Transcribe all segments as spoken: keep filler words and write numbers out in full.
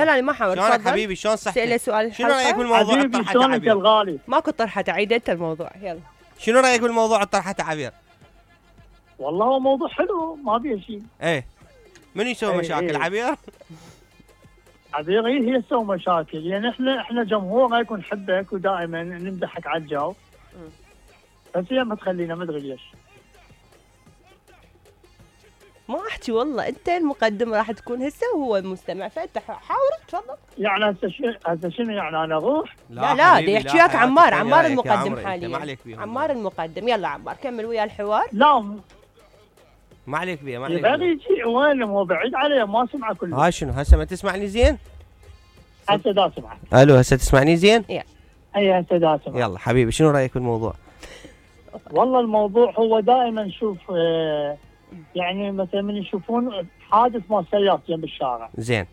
لا لا ما حاول. شلونك حبيبي؟ شلون صحتك؟ سأله سؤال. شنو رايك بالموضوع حبيبي شلونك يا الغالي؟ ماكو طرحه عيد انت الموضوع. يلا شنو رايك بالموضوع الطرحه عبير؟ والله هو موضوع حلو ما بيه شيء. ايه من يسوي ايه مشاكل ايه. عبير؟ عبير هي تسوي مشاكل يعني احنا احنا جمهور هيك نحبك ودائما نمدحك على الجو. بس هي ما تخلينا ما ادري ليش. ما احكي والله انت المقدم راح تكون هسه وهو المستمع فانت حاول تفضل. يعني هسه شنو هسه شنو يعني انا اروح؟ لا لا بدي يحكي وياك عمار. عمار المقدم ما حاليا. عليك بيه. عمار المقدم. يلا عمار كمل ويا الحوار. لا ما عليك بيه ما عليك يبغى بيه. يجي وين هو بعيد عليه ما سمعه كله. هاي شنو هسه ما تسمعني زين؟ هسه دا سمعه. الو هسه تسمعني زين؟ اي هسه دا سمعه. يلا حبيبي شنو رايك بالموضوع؟ والله الموضوع هو دائما نشوف آه يعني مثلا من يشوفون حادث مال سيارة جنب الشارع. زين.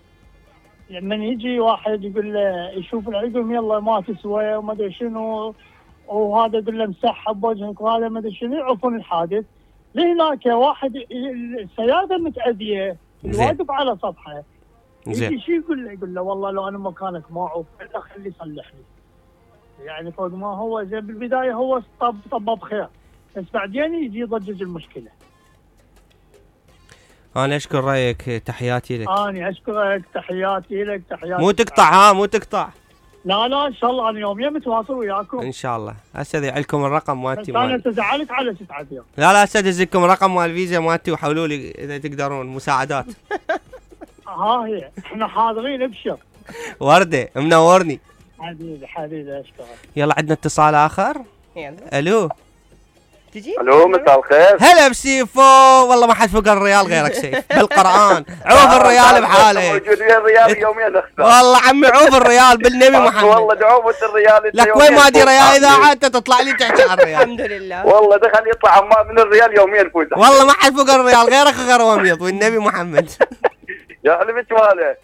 من يجي واحد يقول له يشوف يقول يلا ما تسوى وما ادري شنو وهذا يقول له مسحب بوجهك وهذا ما ادري شنو يعرفون الحادث. لهناك واحد السيارة متأذية واقف على سطحه. يجي شو يقول له؟ يقول له والله لو انا مكانك ما اعوف الا خليه يصلح لي. يعني فوق ما هو زين بالبدايه هو طب طب بخير بس بعدين يجي يضجج المشكله. انا اشكر رايك تحياتي لك. انا اشكرك تحياتي لك تحياتي. مو تقطع ها مو تقطع. لا لا ان شاء الله انا يوميا متواصل وياكم ان شاء الله. هسه ادعي لكم الرقم مالتي. انا تزعلت على ست عبير. لا لا هسه ادز لكم الرقم مال الفيزا مالتي وحولوا لي اذا تقدرون مساعدات. ها هي احنا حاضرين ابشر. ورده منورني. حبيبي حبيبي اشكرك. يلا عندنا اتصال اخر. يلا الو. تجي؟ الو مساء الخير. هلا بسيفو. والله ما حد فوق الريال غيرك سيف بالقران. عوف الريال بحاله. موجود ويا الريال يوميا اخسر. والله عمي عوف الريال بالنبي محمد. والله دعوة الريال. لك وين ما ادري ريال اذا عاد تطلع لي تحكي عن الريال. الحمد لله. والله دخل يطلع عمار من الريال يوميا يفوز. والله ما حد فوق الريال غيرك غير وميض والنبي محمد. يا حلمك ماله.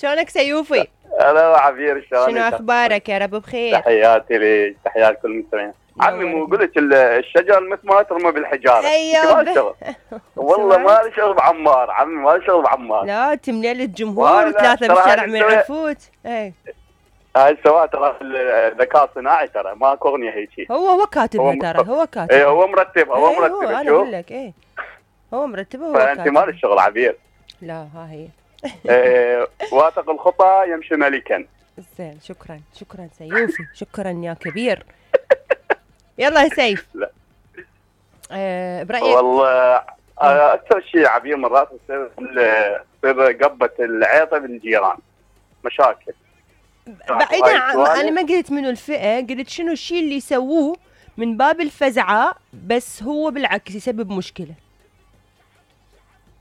شلونك سيوفي؟ هلا عبير شلونك؟ شنو اخبارك؟ يا رب بخير. تحياتي لك تحيات كل المستمعين. عمي مو قلت الشجر مثل ما ترمى بالحجاره. ايوه والله ما لي شغل بعمار عمي ما لي شغل بعمار. لا تملي الجمهور وثلاثه بالشارع ما يعرفوك. اي هاي سواء ترى الذكاء الصناعي ترى ماكو اغنيه هيك. هو هو كاتبها ترى هو كاتبها. اي هو مرتبها هو مرتبها. انا اقول لك ايه هو مرتبها هو فانت ما لك شغل عبير. لا ها هي. ايه واثق الخطى يمشي ملكا. زين شكرا شكرا سيوفي شكرا يا كبير. يلا يا سيف. لا آه برايك والله اكثر شيء عبير مرات تصير تصير قبه العيطه بالجيران مشاكل. بعيدا عن انا ما قلت منو الفئه قلت شنو الشيء اللي يسووه من باب الفزعه بس هو بالعكس يسبب مشكله.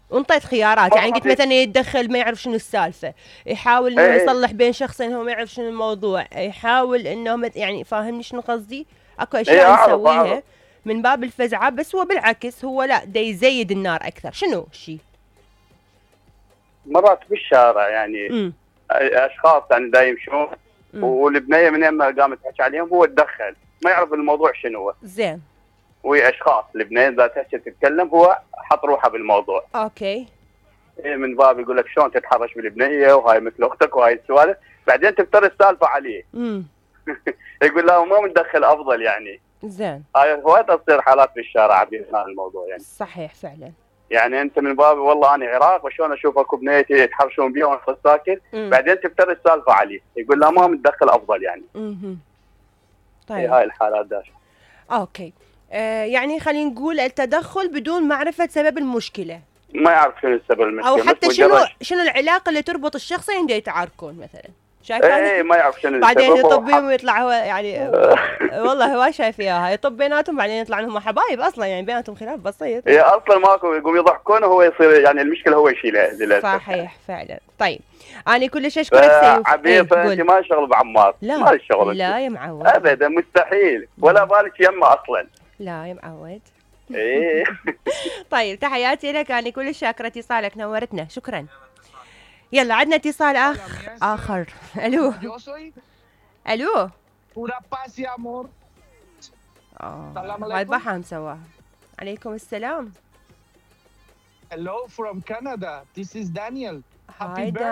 وانطيت خيارات يعني قلت مثلا يتدخل ما يعرف شنو السالفه، يحاول انه ايه يصلح بين شخصين هو ما يعرف شنو الموضوع، يحاول انه يعني فاهمني شنو قصدي؟ اكو اشياء ايه يسويها من باب الفزعه بس هو بالعكس هو لا دا يزيد النار اكثر. شنو الشيء؟ مرات بالشارع يعني م. اشخاص يعني دا يمشون والبنيه من ما قامت تحكي عليهم هو تدخل ما يعرف الموضوع شنو هو. زين. وهي اشخاص البنيه اذا تحكي تتكلم هو حط روحه بالموضوع. اوكي. من باب يقول لك شلون تتحرش بالبنيه وهاي مثل اختك وهاي السوالف، بعدين تفتر السالفه عليه. امم يقول لا ما متدخل افضل يعني. زين. هاي هواي تصير حالات بالشارع بهذا الموضوع يعني. صحيح فعلا. يعني انت من باب والله انا عراق وشلون اشوف اكو بنيتي يتحرشون بيها وانا ساكت، بعدين تفتر السالفه عليه، يقول لا ما متدخل افضل يعني. اها. طيب. هاي الحالات داش. اوكي. آه يعني خلينا نقول التدخل بدون معرفه سبب المشكله. ما يعرف شنو السبب المشكله او حتى شنو شنو العلاقه اللي تربط الشخصين اللي يتعاركون مثلا. شايف ايه ما يعرف شنو بعدين يطب بيهم ويطلع هو يعني والله هو شايف اياها يطب بيناتهم بعدين يطلع انهم حبايب اصلا يعني بيناتهم خلاف بسيط. هي اصلا ماكو يقوم يضحكون وهو يصير يعني المشكله هو يشيلها للاسف. صحيح فعلا. طيب انا كلش اشكرك سيف. عبير فانت ما شغل بعمار. لا ما شغل لا يا معود ابدا مستحيل ولا بالك يمه اصلا. لا يا معود. ايه. طيب تحياتي لك انا كلش شاكره اتصالك نورتنا شكرا. يلا عندنا اتصال اخ اخر. الو الو اه هاي بحام سواها. عليكم السلام. Hello from Canada. This is Daniel. Hi,